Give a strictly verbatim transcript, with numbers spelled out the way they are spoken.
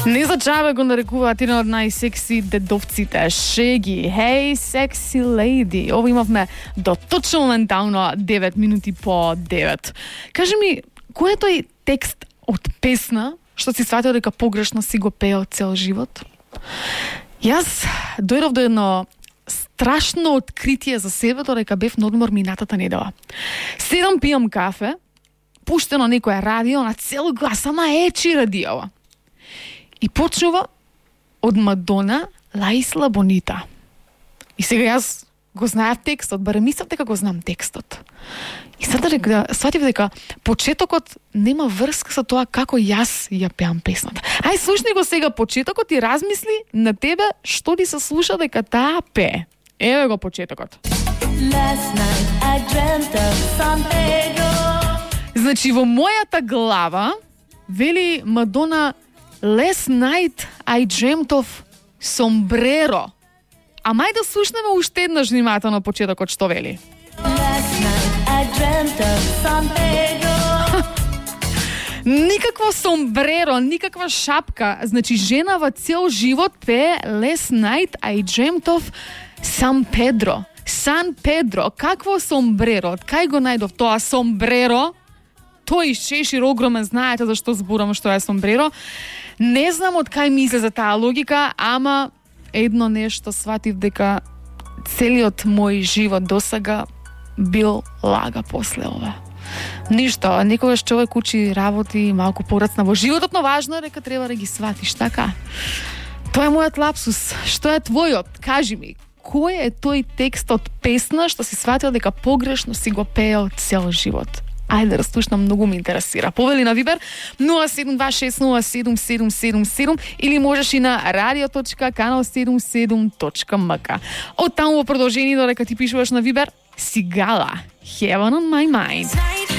Не за джабе го нарекуваат еден од најсекси дедовците. Шеги, hey sexy lady. Ово имавме до точно ментално девет минути по девет. Кажи ми, кој е тој текст од песна што си сватил дека погрешно си го пеел цел живот? Јас дојдов до едно страшно откритие за себе додека бев на одмор минатата недела. Седам пијам кафе, пуштено некоја радио на цел глас, ама ечи радио. И почнува од Мадона La Isla Bonita. И сега јас го знаев текстот, барем мислев дека го знам текстот. И сега дека сватив дека почетокот нема врска со тоа како јас ја пеам песната. Ај слушни го сега почетокот и размисли на тебе што ти се слуша дека таа пее. Еве го почетокот. Значи во мојата глава вели Мадона Last night I dreamt of sombrero. А мај да слушнеме уште еднаш внимателно почетокот што вели. Last night I dreamt of sombrero. Никакво сомбреро, никаква шапка. Значи жена во цел живот пее Last night I dreamt of San Pedro. Сан Педро. Какво сомбреро? Кај го најдов тоа сомбреро? Тој шешир огромен, знаете зашто зборам што е сомбреро. Не знам од кај мисле за таа логика, ама едно нешто сватив дека целиот мој живот досега бил лага после ова. Ништо, некогаш човек учи работи малку порацна во животот, но важно е дека треба да ги сватиш, така? Тоа е мојот лапсус. Што е твојот? Кажи ми, кој е тој текст од песна што си сватил дека погрешно си го пеел цел живот? Ајде да слушнам, многу ме интересира. Повели на Вибер нула седум два шест нула седум седум седум седум или можеш и на радио точка канал седумдесет и седум точка ем ка. Од таму во продолжение додека ти пишуваш на Вибер, Сигала, Heaven on my mind.